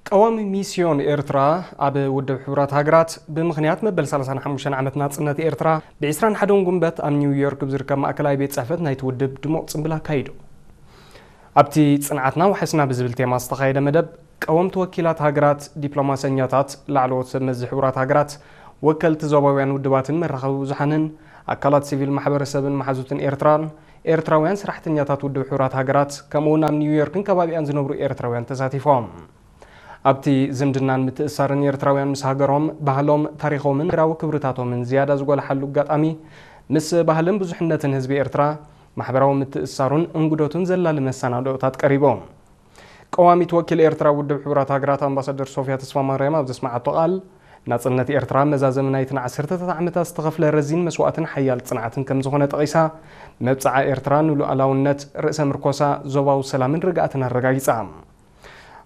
ቀዋሚ ሚስዮን ኤርትራ ኣብ ውድብ ሕቡራት ሃገራት ብምኽንያት መበል ሰላሳን ሓሙሽተን ዓመት ናጽነት ኤርትራ ብ ዕስራን ሓደን ጉንበት ኣብ ኒውዮርክ ብዝርከብ ማእከላይ ቤት ጽሕፈት ናይቲ ውድብ ድሙቕ ጽምብል ኣካይዱ። ኣብቲ ጽንዓትና ዋሕስና ብዝብል ቴማ ዝተኻየደ መደብ ቀወምቲ ወኪላት ሃገራት፣ ዲፕሎማሰኛታት፣ ላዕለዎት ሰብ መዚ ሕቡራት ሃገራት፣ ወከልቲ ዞባውያን ውድባትን መራኸቢ ብዙሓንን ኣካላት ሲቪል ማሕበረሰብን መሓዙትን ኤርትራን ኤርትራውያን ሰራሕተኛታት ውድብ ሕቡራት ሃገራት ከምኡውን ኣብ ኒውዮርክን ከባቢኣን ዝነብሩ ኤርትራውያን ተሳቲፎም። ኣብቲ ዝምድናን ምትእሳርን ኤርትራውያን ምስ ሃገሮም፣ ባህሎም፣ ታሪኾምን ሃገራዊ ክብርታቶምን ዝያዳ ዝጎልሓሉ ኣጋጣሚ ምስ ባህልን ብዙሕነትን ህዝቢ ኤርትራ ማሕበራዊ ምትእሳሩን እንግዶቱን ዘላሊ መሰናድኦታት ቀሪቦም። ቀዋሚት ወኪል ኤርትራ ውድብ ሕቡራት ሃገራት ኣምባሳደር ሶፊያ ተስፋማርያም ኣብ ዘስመዓቶ ቃል፣ ናጽነት ኤርትራ መዛዘሚ ናይተን ዓሰርተታት ዓመታት ዝተኸፍለ ረዚን መስዋእትን ሓያል ጽንዓትን ከም ዝኾነ ጠቒሳ፣ መብጽዓ ኤርትራ ንሉኣላውነት፣ ርእሰ ምርኮሳ፣ ዞባዊ ሰላምን ርግኣትን ኣረጋጊጻ።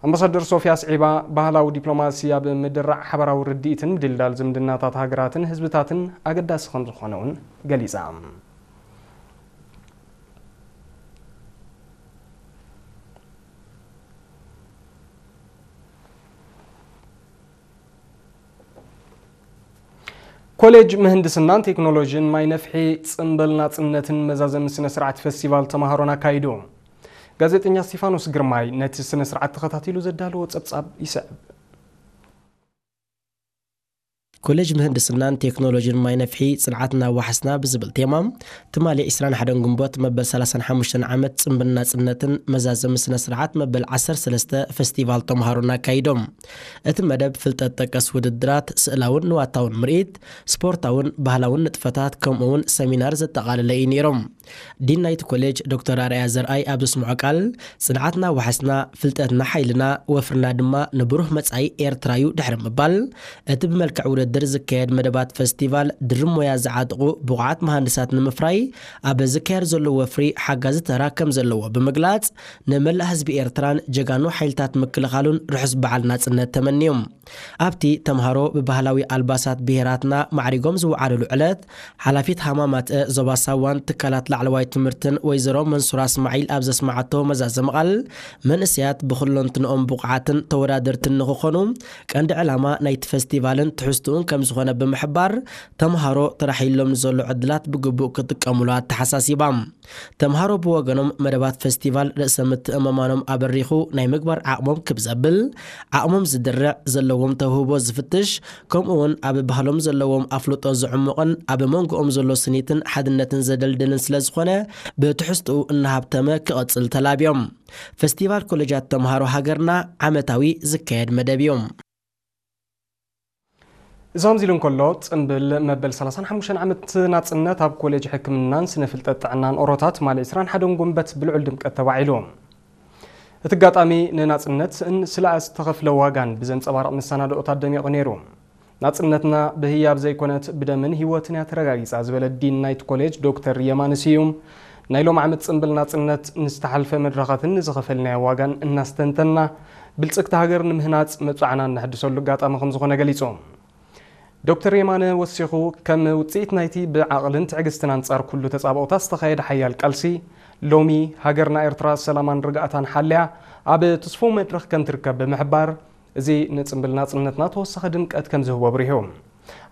ኣምባሳደር ሶፊያ ኣስዒባ፣ ባህላዊ ዲፕሎማሲ ኣብ ምድራዕ ሓባራዊ ርድኢትን ምድልዳል ዝምድናታት ሃገራትን ህዝብታትን ኣገዳሲ ከም ዝኾነ እውን ገሊጻ። ኮሌጅ ምህንድስናን ቴክኖሎጂን ማይ ነፍሒ ጽምብል ናጽነትን መዛዘሚ ስነ ስርዓት ፈስቲቫል ተማሃሮን ኣካይዱ። ጋዜጠኛ እስቲፋኖስ ግርማይ ነቲ ስነ ስርዓት ተኸታቲሉ ዘዳለዎ ጸብጻብ ይስዕብ። ኮሌጅ ምህንድስናን ቴክኖሎጂን ማይ ነፍሒ ጽንዓትና ዋሕስና ብዝብል ቴማ ትማሊ ዕስራን ሓደን ግንቦት መበል ሰላሳን ሓሙሽተን ዓመት ጽምብል ናጽነትን መዛዘሚ ስነ ስርዓት መበል ዓሰርተ ሰለስተ ፈስቲቫል ተምሃሮን ኣካይዶም። እቲ መደብ ፍልጠት ጠቀስ ውድድራት፣ ስእላውን ንዋታውን ምርኢት፣ ስፖርታውን ባህላውን ንጥፈታት ከምኡ እውን ሰሚናር ዘጠቓለለ እዩ ነይሮም። ዲን ናይቲ ኮሌጅ ዶክተር ኣርኣያ ዘርኣይ ኣብ ዘስምዖ ቃል፣ ጽንዓትና ዋሕስና፣ ፍልጠትና ሓይልና፣ ወፍርና ድማ ንብሩህ መጻኢ ኤርትራ እዩ ድሕሪ ምባል፣ እቲ ብመልክዕ ውድድር ዝካየድ መደባት ፈስቲቫል ድርብ ሞያ ዝዓጥቑ ብቑዓት መሃንድሳት ንምፍራይ ኣብ ዝካየድ ዘሎ ወፍሪ ሓጋዚ ተራ ከም ዘለዎ ብምግላጽ፣ ንመላእ ህዝቢ ኤርትራን ጀጋኑ ሓይልታት ምክልኻሉን ርሑስ በዓል ናጽነት ተመንዮም። ኣብቲ ተምሃሮ ብባህላዊ ኣልባሳት ብሄራትና ማዕሪጎም ዝወዓሉሉ ዕለት፣ ሓላፊት ሃማማትአ ዞባ ሳዋን ትካላት ላዕለዋይ ትምህርትን ወይዘሮ መንሱራ እስማዒል ኣብ ዘስመዓቶ መዛዘሚ ቃል፣ መንእሰያት ብኹለንትንኦም ብቑዓትን ተወዳደርትን ንኽኾኑ ቀንዲ ዕላማ ናይቲ ፈስቲቫልን ትሕዝትኡን ከም ዝኾነ ብምሕባር፣ ተምሃሮ ተራሒሎም ንዘሎ ዕድላት ብግቡእ ክጥቀሙሉ ኣተሓሳሲባ። ተምሃሮ ብወገኖም፣ መደባት ፈስቲቫል ርእሰ ምትእምማኖም ኣበሪኹ ናይ ምግባር ዓቕሞም ክብ ዘብል፣ ዓቕሞም ዝድርዕ፣ ዘለዎም ተውህቦ ዝፍትሽ፣ ከምኡ እውን ኣብ ባህሎም ዘለዎም ኣፍልጦ ዝዕሙቕን ኣብ መንጎኦም ዘሎ ስኒትን ሓድነትን ዘደልድልን ስለ ዝኾነ፣ ብትሕዝትኡ እናሃብተመ ክቐጽል ተላብዮም። ፈስቲቫል ኮሌጃት ተምሃሮ ሃገርና ዓመታዊ ዝካየድ መደብ እዩ። እዚ ከምዚ ኢሉ እንከሎ፣ ጽምብል መበል ሰላሳን ሓሙሽተን ዓመት ናጽነት ኣብ ኮሌጅ ሕክምናን ስነ ፍልጠት ጥዕናን ኦሮታት ትማሊ ዕስራን ሓደን ጉንበት ብልዑል ድምቀት ተባዒሉ። እቲ ኣጋጣሚ ንናጽነትን ስለ ዝተኸፍለ ዋጋን ብዘንጸባርቕ መሰናድኦታት ደሚቑ ነይሩ። ናጽነትና ብህያብ ዘይኮነት ብደምን ህይወትን እያ ተረጋጊጻ ዝበለ ዲን ናይቲ ኮሌጅ ዶክተር የማነ ስዩም፣ ናይ ሎም ዓመት ጽምብል ናጽነት ንዝተሓልፈ መድረኻትን ንዝኸፈልናዮ ዋጋን እናስተንተና፣ ብልጽግቲ ሃገር ንምህናጽ መብጽዓና እነሐድሰሉ ኣጋጣሚ ከም ዝኾነ ገሊጹ። ዶክተር የማነ ወሲኹ፣ ከም ውጽኢት ናይቲ ብዓቕልን ትዕግስትን ኣንጻር ኩሉ ተጻብኦታት ዝተኻየደ ሓያል ቃልሲ፣ ሎሚ ሃገርና ኤርትራ ሰላማን ርግኣታን ሓልያ ኣብ ትስፉው መድረኽ ከም ትርከብ ብምሕባር፣ እዚ ንጽምብል ናጽነትና ተወሳኺ ድምቀት ከም ዝህቦ ኣብሪሁ።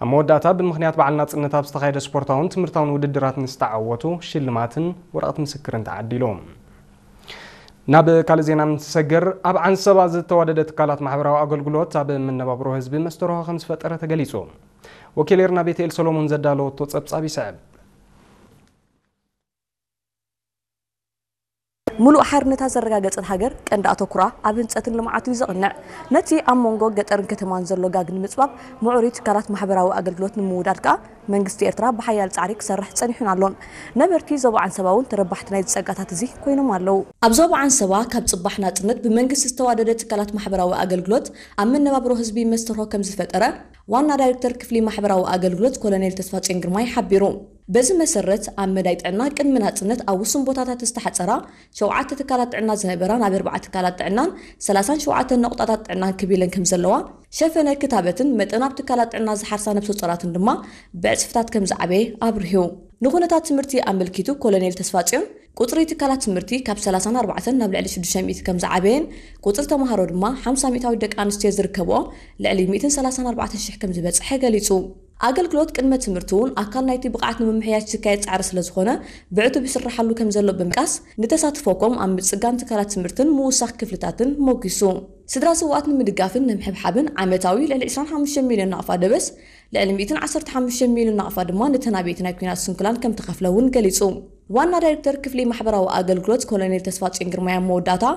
ኣብ መወዳእታ፣ ብምኽንያት በዓል ናጽነት ኣብ ዝተኻየደ ስፖርታውን ትምህርታውን ውድድራት ንዝተዓወቱ ሽልማትን ወረቐት ምስክርን ተዓዲሉ። ናብ ካልእ ዜና እንትሰግር፣ ኣብ ዓንሰባ ዝተዋደደ ትካላት ማሕበራዊ ኣገልግሎት ኣብ መነባብሮ ህዝቢ መስተርሆ ከም ዝፈጠረ ተገሊጹ። ወኪል ኤርና ቤተኤል ሰሎሞን ዘዳለወቶ ጸብጻብ ይስዕብ። ምሉእ ሓርነታ ዘረጋገጸት ሃገር ቀንዲ ኣተኩራ ኣብ ህንጸትን ልምዓቱ እዩ ዘቕንዕ። ነቲ ኣብ መንጎ ገጠርን ከተማን ዘሎ ጋግ ንምጽባብ፣ ምዕሩይ ትካላት ማሕበራዊ ኣገልግሎት ንምውዳድ ከኣ መንግስቲ ኤርትራ ብሓያል ጻዕሪ ክሰርሕ ጸኒሑን ኣሎን። ነበርቲ ዞባ ዓንሰባ እውን ተረባሕቲ ናይዚ ጸጋታት እዚ ኮይኖም ኣለዉ። ኣብ ዞባ ዓንሰባ ካብ ጽባሕ ናጽነት ብመንግስቲ ዝተዋደደ ትካላት ማሕበራዊ ኣገልግሎት ኣብ መነባብሮ ህዝቢ መስተርሆ ከም ዝፈጠረ ዋና ዳይሬክተር ክፍሊ ማሕበራዊ ኣገልግሎት ኮሎኔል ተስፋጽዮን ግርማይ ሓቢሩ። በዚ መሰረት ኣብ መዳይ ጥዕና ቅድሚ ናጽነት ኣብ ውሱን ቦታታት ዝተሓጸራ ሸውዓተ ትካላት ጥዕና ዝነበራ ናብ ኣርባዓ ትካላት ጥዕናን ሰላሳን ሸውዓተ ነቑጣታት ጥዕናን ክቢለን ከም ዘለዋ፣ ሸፈነ ክታበትን መጠን ኣብ ትካላት ጥዕና ዝሓርሳ ነብሰ ጾራትን ድማ ብዕጽፍታት ከም ዝዓበየ ኣብሪሁ። ንኹነታት ትምህርቲ ኣመልኪቱ ኮሎኔል ተስፋጽዮን፣ ቁፅሪ ትካላት ትምህርቲ ካብ ሰላሳን ኣርባዕተን ናብ ልዕሊ ሽዱሽተ ሚእቲ ከም ዝዓበየን ቁፅሪ ተምሃሮ ድማ ሓምሳ ሚእታዊት ደቂ ኣንስትዮ ዝርከብኦ ልዕሊ ሚእትን ሰላሳን ኣርባዕተን ሽሕ ከም ዝበፅሐ ገሊፁ። ኣገልግሎት ቅድመ ትምህርቲ እውን ኣካል ናይቲ ብቕዓት ንምምሕያሽ ዝካየድ ፃዕሪ ስለዝኾነ ብዕቱብ ይስራሓሉ ከም ዘሎ ብምጥቃስ ንተሳትፎ ኮም ኣብ ምፅጋን ትካላት ትምህርትን ምውሳኽ ክፍልታትን ሞጊሱ። ስድራ ስውኣት ንምድጋፍን ንምሕብሓብን ዓመታዊ ልዕሊ ዕስራን ሓሙሽተ ሚልዮን ናቕፋ ደበስ ልዕሊ ሚእትን ዓሰርተ ሓሙሽተ ሚልዮን ናቕፋ ድማ ነተን ኣበይቲ ናይ ኲናት ስንኩላን ከም ተኸፍለ እውን ገሊፁ። ዋና ዳይሬክተር ክፍሊ ማሕበራዊ ኣገልግሎት ኮሎኔል ተስፋጽዮን ግርማይ ኣብ መወዳእታ